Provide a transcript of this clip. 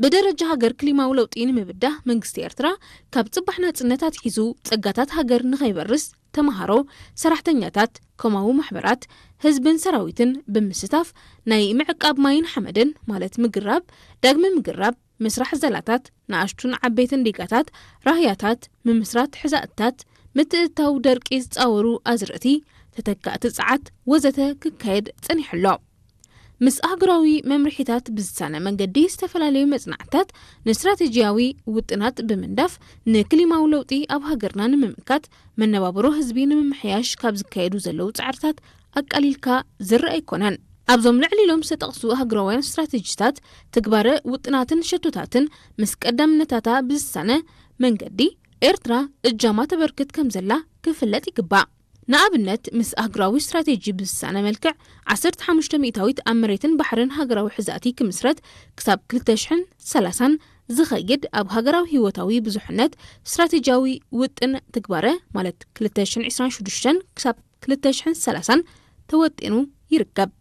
ብደረጃ ሃገር ክሊማዊ ለውጢ ንምብዳህ መንግስቲ ኤርትራ ካብ ጽባሕ ናጽነት ኣትሒዙ ጸጋታት ሃገር ንኸይበርስ ተምሃሮ፣ ሰራሕተኛታት፣ ኮማዊ ማሕበራት፣ ህዝብን ሰራዊትን ብምስታፍ ናይ ምዕቃብ ማይን ሓመድን ማለት ምግራብ፣ ዳግመ ምግራብ፣ ምስራሕ ዘላታት፣ ንኣሽቱን ዓበይትን ዲጋታት፣ ራህያታት፣ ምምስራት ሕዛእትታት፣ ምትእትታው ደርቂ ዝጻወሩ ኣዝርእቲ፣ ተተካእቲ ጸዓት ወዘተ ክካየድ ጸኒሑ ኣሎ። ምስ ኣህጉራዊ መምርሒታት ብዝሳነ መንገዲ ዝተፈላለዩ መጽናዕትታት ንስትራቴጂያዊ ውጥናት ብምንዳፍ ንክሊማዊ ለውጢ ኣብ ሃገርና ንምምካት መነባብሮ ህዝቢ ንምምሕያሽ ካብ ዝካየዱ ዘለዉ ጻዕርታት ኣቃሊልካ ዝረኣ ኣይኮነን። ኣብዞም ልዕሊ ኢሎም ዝተጠቕሱ ሃገራውያን ስትራቴጂታት ትግባረ ውጥናትን ሸቶታትን ምስ ቀዳምነታታ ብዝሳነ መንገዲ ኤርትራ እጃማ ተበርክት ከም ዘላ ክፍለጥ ይግባእ። ንኣብነት ምስ ኣህጉራዊ ስትራቴጂ ብዝሳነ መልክዕ ዓሰርተ ሓሙሽተ ሚእታዊት ኣብ መሬትን ባሕርን ሃገራዊ ሕዛእቲ ክምስረት ክሳብ ክልተ ሽሕን ሰላሳን ዝኸይድ ኣብ ሃገራዊ ህይወታዊ ብዙሕነት ስትራቴጂያዊ ውጥን ትግባረ ማለት ክልተ ሽሕን ዕስራን ሽዱሽተን ክሳብ ክልተ ሽሕን ሰላሳን ተወጢኑ ይርከብ።